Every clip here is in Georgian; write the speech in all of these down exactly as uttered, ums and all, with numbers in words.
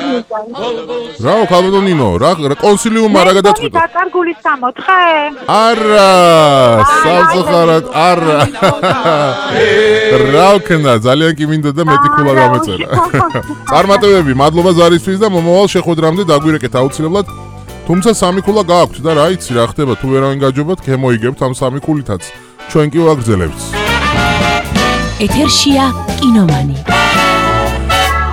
რა ქალბატონ ნინო რა კონსილიუმმა რა გადაწყვიტა დაკარგული სამოთხე არა სამწუხაროდ არა რა ვქნა ძალიან კი მინდა და მეტი ქულა გამეწერა წარმატებები მადლობა ზარისთვის და მომავალ შეხვედრამდე დაგვირეკეთ აუცილებლად თუმცა სამი ქულა გააქვთ და რა იცი რა ხდება თუ ვერავინ გაჯობათ გემოიგებთ ამ სამი ქულითაც ჩვენ კი ვაგრძელებთ ეთერშია კინომანი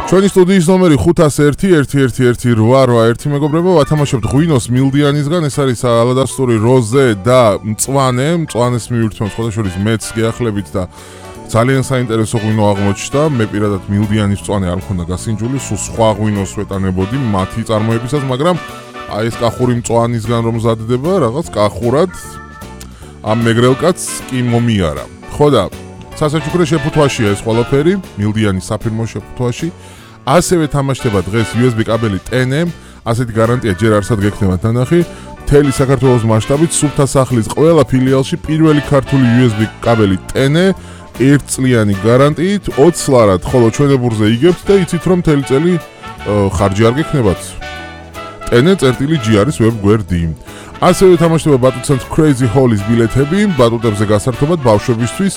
ჩვენი სტუდიის ნომერი ხუთას ერთი ერთი ერთი ერთი რვა რვა ერთი მეგობრებო ვათამაშებთ ღვინოს მილდიანისგან ეს არის ალადასტური როზე და მწვანე მწვანეს მივირთმევთ სხვადასხვა მეც გეახლებით და ძალიან საინტერესო ღვინო აღმოჩნდა მე პირადად მილდიანის მწვანე არ მქონდა გასინჯული სულ სხვა ღვინოს ვეტანებოდი მათი წარმოებისას მაგრამ აი ეს კახური მწვანისგან რომ მზადდება რაღაც კახურად ამ მეგრელკაც კი მომიარა ხო და სასაჩუქრე შეფუთვაშია ეს ყველაფერი მილდიანის საფირმო შეფუთვაში ასევე თამაშდება დღეს იუ ეს ბი კაბელი ტენე ასეთი გარანტია ჯერ არსად გექნება თანახი მთელი საქართველოს მასშტაბით სუფთა სახლის ყველა ფილიალში პირველი ქართული იუ ეს ბი კაბელი ტენე ერთწლიანი გარანტიით ოცს ლარად ხოლო ჩვენებურზე იგებთ და იცით რომ მთელი წელი ხარჯი არ გექნებათ ტენე წერტილი ჯი არის ვებგვერდი ასევე თამაშდება ბატუტცენტრ Crazy Hall-ის ბილეთები ბატუტებზე გასართობად ბავშვებისთვის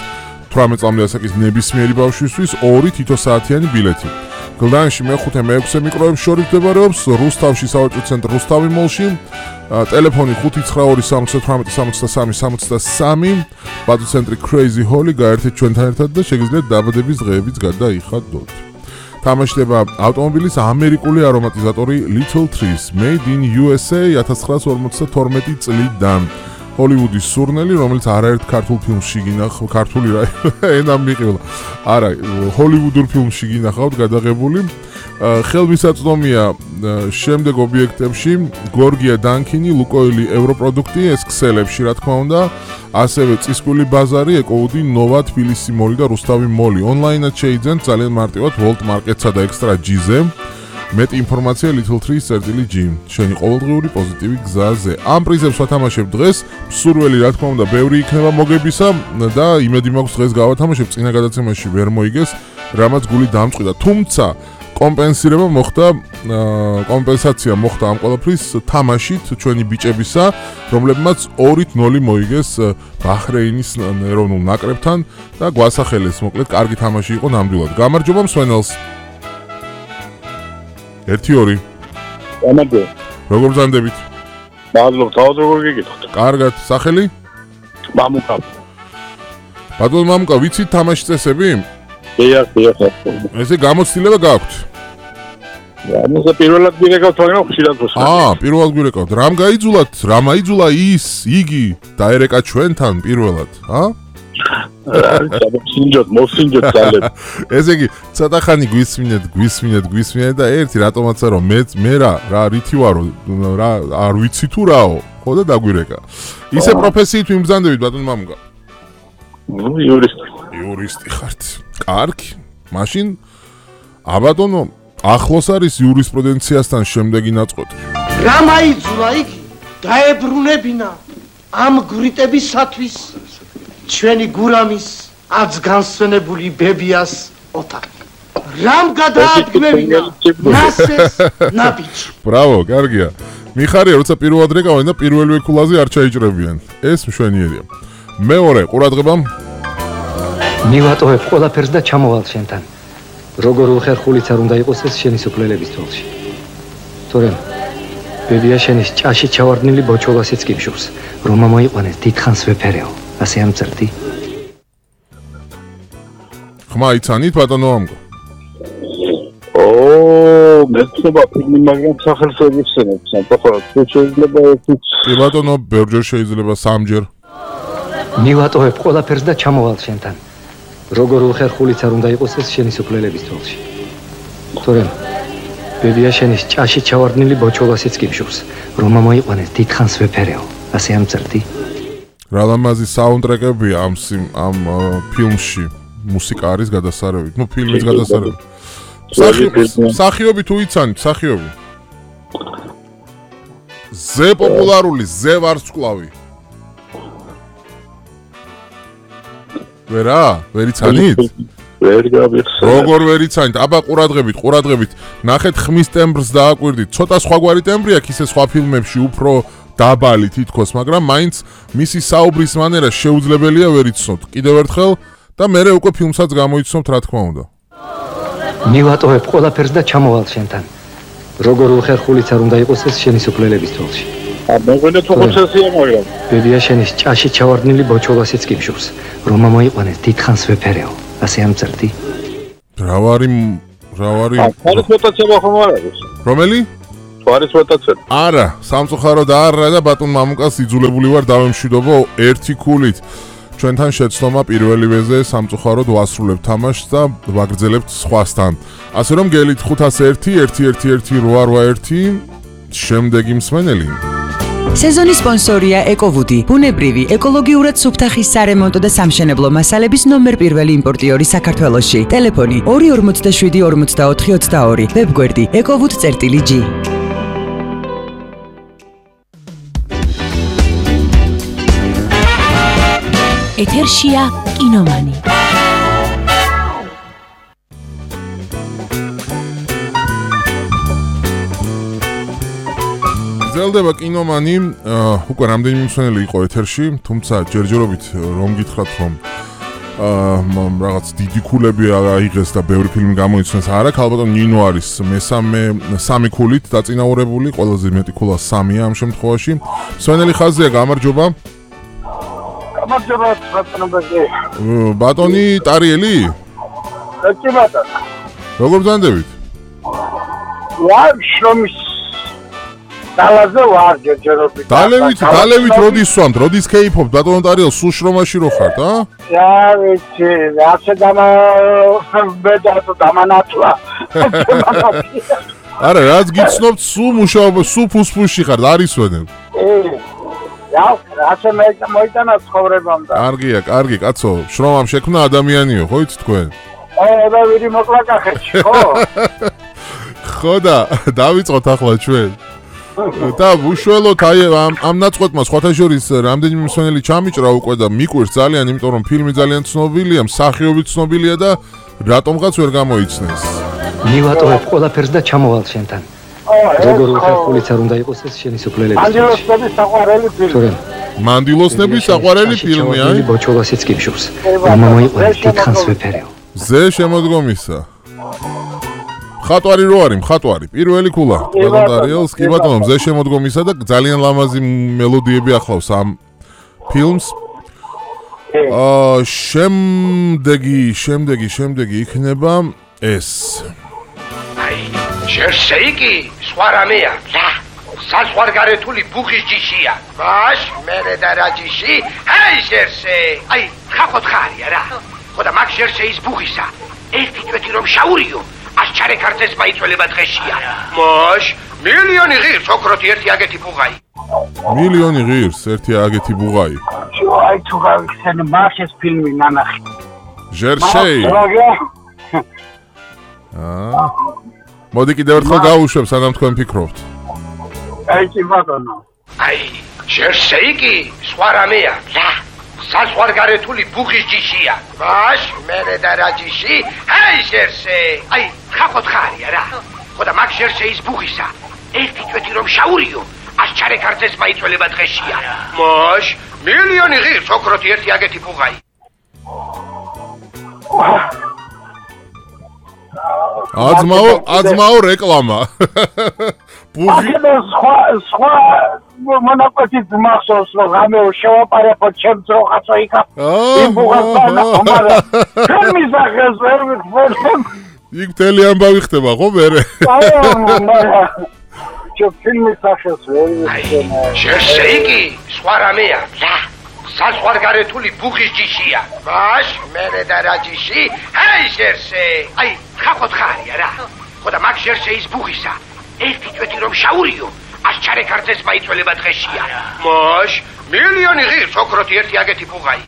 თვრამეტ წლამდე ასაკის ნებისმიერი ბავშვისთვის ორი თითო საათიანი ბილეთი. გლდანში მეხუთე მეექვსე მიკროებს შორის მდებარეობს რუსთავში სავაჭრო ცენტრ რუსთავი მოლში ტელეფონი ხუთი ცხრა ორი სამოცდა თვრამეტი სამოცდა სამი სამოცდა სამი ბატუტცენტრი Crazy Hall-ი გაერთეთ ჩვენთან ერთად და შეგიძლიათ დაბადების დღეებიც გადაიხადოთ. თამაშდება ავტომობილის ამერიკული არომატიზატორი Little Trees Made in იუ ეს ეი ათას ცხრაას ორმოცდათორმეტი წლიდან ჰოლივუდის სურნელი, რომელიც არაერთ ქართულ ფილმში გინახავ, ქართული რა ენა მიყევლა. არა, ჰოლივუდურ ფილმში გინახავთ გადაღებული. ხელმისაწვდომია შემდეგ ობიექტებში გორგია დანკინი, ლუკოილი ევროპროდუქტი, ეს ქსელებში რა თქმა უნდა, ასევე წისკვილი ბაზარი, ეკოუდი, ნოვა, თბილისი მოლი და რუსთავი მოლი. ონლაინად შეიძენთ ძალიან მარტივად Volt Market-სა და Extra G-ზე. მეტი ინფორმაცია Little Trees წერტილი G. შენი ყოველდღიური პოზიტივი გზაზე. ამ პრიზებს ვათამაშებ დღეს. მსურველი რა თქმა უნდა ბევრი იქნება მოგებისა და იმედი მაქვს დღეს გავათამაშებ წინა გადაცემაში ვერ მოიგეს, რამაც გული დამწყვიტა. თუმცა კომპენსირება მოხდა, კომპენსაცია მოხდა ამ ყველაფრის თამაშით ჩვენი ბიჭებისა, რომლებმაც ორით ნოლი მოიგეს ბაჰრეინის ეროვნულ ნაკრებთან და გვასახელეს, მოკლედ კარგი თამაში იყო ნამდვილად. გამარჯობა მსვენელს. ერთი ორი. გამარჯობა. როგორ ბრძანდებით? მადლობა, თავად როგორ გიგიხოთ? კარგად, სახელი? მამუკა. ბატონ მამუკა, ვიცით თამაშის წესები? დიახ, დიახ. ესე გამოცდილება გაქვთ? ამაზე პირველად გირეკავთ, მაგრამ ხშირად ვსვამ. აა, პირველად გირეკავთ. რამ გაიძულათ? რამ აიძულა ის, იგი დაერეკა ჩვენთან პირველად, ა? სინჯოთ, მოსინჯოთ ძალებ. ესე იგი, ცოტა ხანი გვისმინეთ, გვისმინეთ, გვისმინეთ და ერთი რატომაც არა მე მე რა, რა რითი ვარო, რა არ ვიცი თუ რაო, ხო და დაგვირეკა. ისე პროფესიით მიმბრძანდებით ბატონ მამუკა. ნუ იურისტი. იურისტი ხართ. კარგი. მაშინ აბატონო, ახლოს არის იურისპრუდენციასთან შემდეგი ნაწყვეტი. რა მაიძულა იგი? დაებრუნებინა ამ გვრიტებისათვის ჩვენი გურამის აც განსვენებული ბებიას ოთახი. რამ გადაადგმევინა ნასეს ნაბიჯი. ბრავო, კარგია. მიხარია, როცა პირველად რეკავენ და პირველივე ქულაზე არ ჩაიჭრებიან. ეს მშვენიერია. მეორე ყურადღებამ მივატოვებ ყველაფერს და ჩამოვალ შენთან. როგორ უხერხულიც არ უნდა იყოს ეს შენი სოფლელების თვალში. თორემ ბებია შენის ჭაში ჩავარდნილი ბოჩოლასიც გიფშურს, რომ ამოიყვანეს დიდხანს ვეფერეო. ასე ამწერდი. ხმა იცანით ბატონო ამგო? ო, მეცობა ფილმი მაგრამ სახელს ვერ ვიხსენებ, სამწუხაროდ თუ შეიძლება ერთიც. ბატონო, ბევრჯერ შეიძლება სამჯერ. მივატოვებ ყველაფერს და ჩამოვალ შენთან. როგორ უხერხულიც არ უნდა იყოს ეს შენი სოფლელების თვალში. თორემ ბებია შენის ჭაში ჩავარდნილი ბოჩოლასიც გიფშურს, რომ ამოიყვანეს დიდხანს ვეფერეო. ასე ამწერდი. რა ლამაზი საუნდტრეკებია ამ ამ ფილმში. მუსიკა არის გადასარევით. ნუ ფილმის გადასარევით. სახიობი თუ იცანით, სახიობი. ზე პოპულარული, ზე ვარსკვლავი. ვერა, ვერ იცანით? ვერ გავიხსენებ. როგორ ვერ იცანით? აბა ყურადღებით, ყურადღებით. ნახეთ ხმის ტემბრს დააკვირდით. ცოტა სხვაგვარი ტემბრი აქვს ისე სხვა ფილმებში უფრო დაბალი თითქოს, მაგრამ მაინც მისი საუბრის მანერა შეუძლებელია ვერ იცნობთ. კიდევ ერთხელ და მერე უკვე ფილმსაც გამოიცნობთ, რა თქმა უნდა. მივატოვებ ყველაფერს და ჩამოვალ შენთან. როგორ უხერხულიც არ უნდა იყოს ეს შენი სოფლელების თვალში. ა მეგონა თუ ხოცესია მაგრამ. ბებია შენის ჭაში ჩავარდნილი ბოჩოლასიც გიმშურს. რომ მოიყვანეს დიდხანს ვეფერეო. ასე ამწერდი. რა ვარი რა ვარი არის მოტაცება ხომ არ არის? რომელი? არის მოტაცება. არა, სამწუხარო და არა და ბატონ მამუკას იძულებული ვარ დავემშვიდობო ერთი ქულით. ჩვენთან შეცდომა პირველივეზე სამწუხაროდ ვასრულებთ თამაშს და ვაგრძელებთ სხვასთან. ასე რომ გელით ხუთას ერთი ერთი ერთი ერთი რვა რვა ერთი შემდეგი მსმენელი. სეზონის სპონსორია ეკოვუდი, ბუნებრივი, ეკოლოგიურად სუფთახის სარემონტო და სამშენებლო მასალების ნომერ პირველი იმპორტიორი საქართველოში. ტელეფონი ორი ორმოცდაშვიდი ორმოცდაოთხი ოცდაორი, ვებგვერდი ეკოვუდ.გი. ეთერშია კინომანი. გრძელდება კინომანი, უკვე რამდენიმე მსმენელი იყო ეთერში, თუმცა ჯერჯერობით რომ გითხრათ რომ რაღაც დიდი ქულები აიღეს და ბევრი ფილმი გამოიცნეს, არა, ალბათ ნინო არის მესამე სამი ქულით დაწინაურებული, ყველაზე მეტი ქულა სამია ამ შემთხვევაში. მსმენელი ხაზია, გამარჯობა. გამარჯობა ბატონო. ბატონი ტარიელი? კი ბატონო. როგორ ბრძანდებით? ვარ შრომის დალაზე ვარ ჯერჯერობით. დალევით, დალევით როდის სვამთ, როდის კეიფობთ, ბატონო ტარიელ, სულ შრომაში რო ხართ, ა? Ja, ვიცი, ასე დამა ბედათო დამანათლა. არა, რაც გიცნობთ, სულ მუშაობა, სულ ფუსფუსში ხართ, არის ვენებ. Ja, ასე მე მოიტანა ცხოვრებამ და. კარგია, კარგი, კაცო, შრომამ შექმნა ადამიანიო, ხო იცით თქვენ? აა, და ვირი მოკლა კახეთში, ხო? ხო და დავიწყოთ ახლა ჩვენ. და უშუალოდ აი ამ ამ ნაწყვეტმა სხვათა შორის რამდენიმე მსმენელი ჩამიჭრა უკვე და მიკვირს ძალიან, იმიტომ რომ ფილმი ძალიან ცნობილია, მსახიობი ცნობილია და რატომღაც ვერ გამოიცნეს. მივატოვებ ყველაფერს და ჩამოვალ შენთან. როგორ უხერხულიც არ უნდა იყოს ეს შენი სოფლელების თვალში. ანდილოსების საყვარელი ფილმი. მანდილოსნების საყვარელი ფილმი, აი? ბოჩოლასიც გიმშურს. რომ მოიყვანეს დიდხანს ვეფერეო. ზე შემოდგომისა. ხატვარი რო არის, ხატვარი, პირველი ქულა. ბატონ დარიელს, კი ბატონო, ზე შემოდგომისა და ძალიან ლამაზი მელოდიები ახლავს ამ ფილმს. აა, შემდეგი, შემდეგი, შემდეგი იქნება ეს. აი, შერსეიკი, სხვა რამეა. რა? საზღვარგარეთული ბუხის ჯიშია. მაშ, მერე და რა ჯიში? აი, შერსე. აი, ხახოთ ხარია რა. ხო და მაგ შერსეის ბუხისა. ერთი წვეთი რომ შაურიო. ას ჩარეკარცეს მაიწველება დღეშია. მოშ, მილიონი ღირს ოქროთი ერთი აგეთი ბუღაი. მილიონი ღირს ერთი აგეთი ბუღაი. აი თუ გავიხსენე მარშეს ფილმი ნანახი. ჟერსეი. აა. მოდი კიდევ ერთხელ გავუშვებ, სანამ თქვენ ფიქრობთ. აი კი ბატონო. აი, ჟერსეიკი, სხვა რამეა. რა? საზღვარგარეთული ბუხის ჯიშია. მაშ, მერე და რა ჯიში? აი, ჟერსე. აი, ხახოთ ხარია რა. ხო და მაგ ჟერსეის ბუხისა. ერთი წვეთი რომ შაურიო. ას ჩარეკარცეს მაიწველება დღეშია. მოშ, მილიონი ღირს ოქროთი ერთი აგეთი ბუღაი. აზმაო, აზმაო რეკლამა. ბუღი სხვა სხვა მონაკვეთის მახსოვს რომ გამეო შევაპარებო ჩემს როხაცო იქა. იმ ბუღასთან ამარა. ჩემი სახეს ვერ ვიხმენ. იქ მთელი ამბავი ხდება ხო მერე? აი, მარა. Čo filmy სახეს ვერ ვიხმენ. ჟერსეიკი, სხვა რამეა. რა? საზღვარგარეთული ბუხის ჯიშია. მაშ, მერე და რა ჯიში? აი, ჟერსე. აი, ხახოთ ხარია რა. ხო და მაგ ჟერსეის ბუხისა. ერთი წვეთი რომ შაურიო. ას ჩარეკარცეს მაიწველება დღეშია. მოშ, მილიონი ღირს ოქროთი ერთი აგეთი ბუღაი.